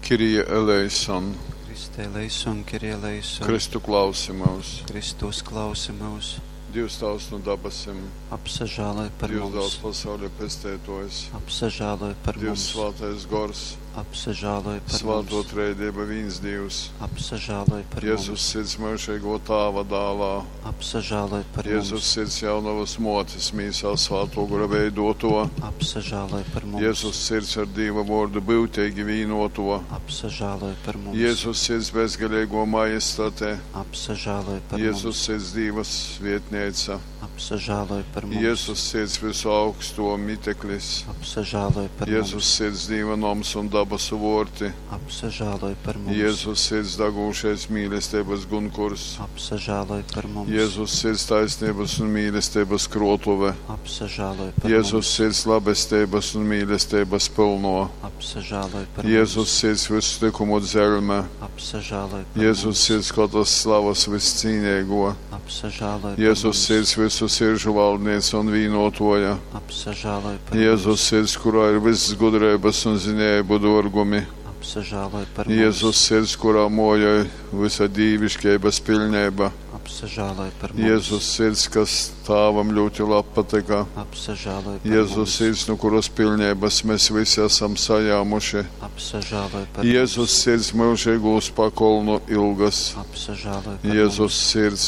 Kyrie eleison. Christe eleison, Kyrie eleison. Kristu klausi myus. Kristu uzklausi myus. Dievs Tavs nu dabasim. Apsažāloj par Dievs mums. Dāls pasauļa pesteitojs. Apsažāloj par Dievs mums. Svātais Gors. Apsažāloj par Svāto mums. Trejdieva vīns Dievs. Apsažāloj par Jēzus mums. sirds myužīgo Tāva dālā. Apsažāloj par Jēzus mums. sirds jaunavas motes mīsā svāto gora veidoto. Apsažāloj par mums. Jēzus sirds ar Dieva vārdu būtīgi vīnoto. Apsažāloj par mums. Jēzus sirds bezgalīgo majestate. Apsažāloj par Jēzus mums. sirds Dievas vietneica. Apsažāloj par mums. Jēzus sirds visu augsto miteklis. Apsažāloj par Jēzus mums. sirds Dieva noms un dabasu vorti. Apsažāloj par mums. Jēzus sirds dagūšais mīlestības gunkurs. Apsažāloj par mums. Jēzus sirds taisnības un mīlestības krotuve. Apsažāloj par Jēzus mums. sirds labestības un mīlestības pilno. Apsažāloj par Jēzus mums. sirds visu likumu dzelme. Apsažāloj par Jēzus mums. sirds katras slavas viscīnīgo. Apsažāloj par Jēzus mums. sirds visu siržu valdniece un vīnotoja. Apsažāloj par Jēzus mums. sirds, kurā ir viss gudrības un zinējumu dorgumi. Apsažāloj par mums. Jēzus sirds, kurā mojoj visa dīvišķības pilnība. Apsažāloj par mums. Jēzus sirds, kas tāvam ļoti labi patika. Apsažāloj par Jēzus mums. sirds, no kuras pilnības mēs visi esam sajāmuši. Apsažāloj par Jēzus mums. sirds mūžīgūs pakolnu ilgas. Apsažāloj par Jēzus mums. sirds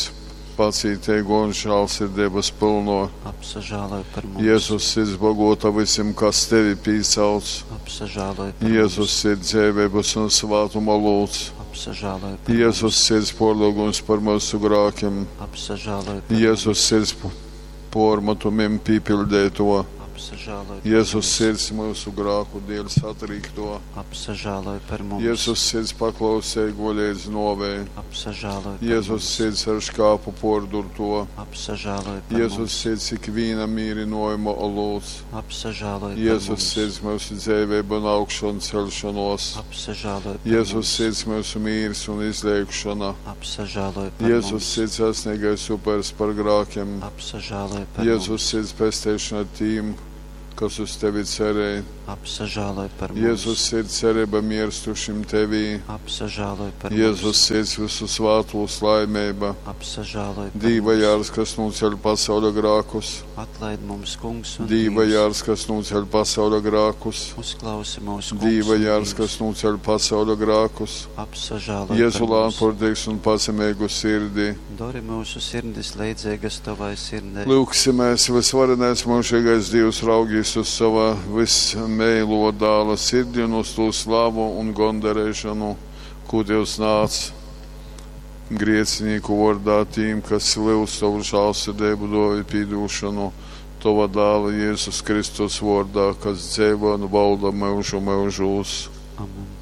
pacītīgo un žēlsirdības pilno. Apsažāloj par mums. Jēzus sirds bagota visiem, kas tevi pīsauc. Apsažāloj par Jēzus mums. sirds dzēvības un svātuma lūdz. Apsažāloj par Jēzus mums. sirds porlūgums par mūsu grākiem. Apsažāloj par Jēzus mums. sirds pormatumiem pīpildēto. Apsažāloj par Jēzus mums. sirds mūsu grāku dēļ satrīkto. Apsažāloj par mums. Jēzus sirds paklausēgo līdz novei. Apsažāloj par Jēzus mums. sirds ar škāpu pordurto. Apsažāloj par Jēzus mums. sirds ikviena mīrinojuma olūts. Apsažāloj par Jēzus mums. sirds mūsu dzēvību un augšanu celšanos. Apsažāloj par Jēzus mums. sirds mūsu mīrs un izliekšana. Apsažāloj par Jēzus mums. sirds esnīgais upers par grākiem. Apsažāloj par Jēzus mums. sirds pesteišana tīm, kas uz tevi cerēja. Apsažāloj par mums. Jēzus sirds cerība mirstušim tevī. Apsažāloj par Jēzus mums. sirds visu svātos laimība. Apsažāloj par Dīva mums. jārs, kas noceļ pasauļa grākus. Atlaid mums, kungs, un Dīva Dievs. jārs, kas noceļ pasauļa grākus. Uzklausi mūsu kungs Dīva un jārs, Dievs. kas noceļ pasauļa grākus. Apsažāloj Jēzu par mums. lānpordīgs un pazemīgu sirdī. Dori mūsu sirdis leidzīgas tavai sirdei. Lūgsimies, visvarenais mūžīgais Dievs raugīs uz sava vismeilo dāla sirdi un uz to slavu un gondarēšanu, ko Dievs nāc griecinīku vārdā tīm, kas lūdz tavu žēlsirdību, dovi pīdūšanu, tava dāla Jēzus Kristus vārdā, kas dzīvo un valda mūžu mūžos. Amen.